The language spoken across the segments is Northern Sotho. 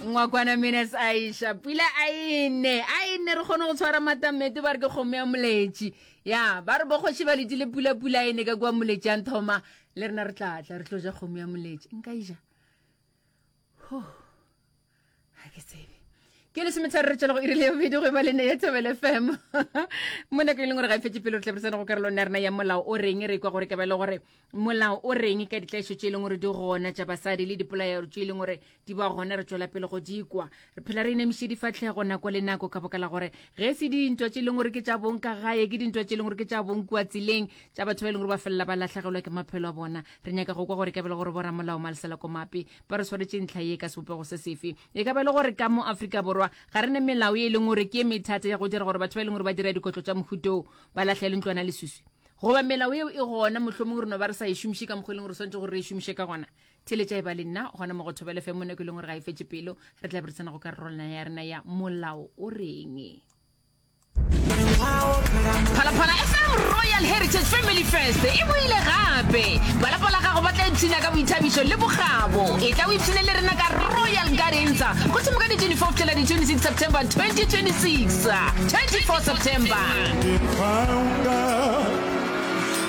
Ngwakwana Minas Aisha pula a ene a ene re kgone go tshwara matamete ba re ke kgomo ya moletši ya ba re bokgoši ba letile pula pula ene ka kua moletši a nthoma le rena re tla tla re tlo ja kgomo ya moletši nka ija ga ke tsebe ke lesometharo re tšwela go irile ya bobedi go eba lene ya thobele fm mo nako e leng gore ga e fetse pele re tle re tsene go karolong ya rena ya molao o reng re kwa gore ka ba e le gore molao o reng ka ditlaišo tše e leng gore di gona tša basadi le dipolaeo tše e leng gore di ba gona re tšwela pele go di kwa re phela re inamiše difatlhego nako le nako ka boka la gore ge se dintwa tše e leng gore ke tša bong ka gae ke dintwa tše e leng gore ke tša bong kua tseleng tša batho ba e leng gore ba felela ba latlhegelwa ke maphelo a bona re nyaka go kwa gore ka bele gore boramolao malesela komape ba re swaretše ntlha ye ka sebopego se sefe. E ka ba e le gore ka mo Afrika Borwa ga re ne melao ye e leng gore ke ye methata ya go dira gore batho ba e leng gore ba dira dikotlo tša mohuta wo ba lahlele ntlwana leswiswi, goba melao yeo e gona mohlomong re no ba re sa e šomiše ka mokgwa e leng gore swanetše gore re e šomiše ka gona. Theeletša e ba le nna gona mo go Thobela FM mo nako e leng gore ga e fetše pelo, re tla be re tsena go karolwana ya rena ya Molao o Reng. Phalaphala FM Royal Heritage Family Fest e boile gape. Ba lapa la gago ba tla ipshina ka boithabišo le bokgabo. Etla o ipshine le rena ka Royal Gardens go thoma ka di 24 go fihlela di 26 September 2026. 24 September.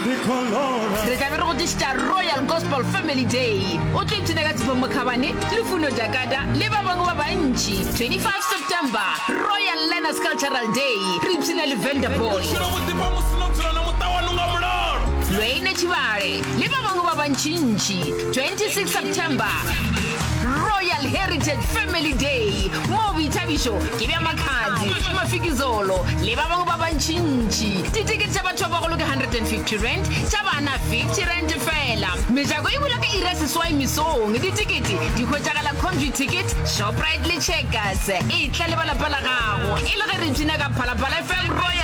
Re tla be re go tlišetša Royal Gospel Family Day. O tlo ipshina ka Tshepo Mokhabane, Lufuno Jakada le ba bangwe ba bantši. 25 September, Royal Learners Cultural Day, re ipshina le Venda Boy. Lwayne Tshibale le ba bangwe ba bantšintši. 26 September, Royal Heritage Family Day, moo boithabišo ke bja Makhadzi, Mafikizolo le ba bangwe ba bantšintši. Ditekete tša batho ba bagolo ke R150, tša bana R50 feela. Mejako e bula ka iri ya seswai mesong. Ditekete di hwetšagala Computicket, Shoprite le Checkers. Etla le ba lapa la gago e le ge re ipshina ka Phalaphala FM Royal.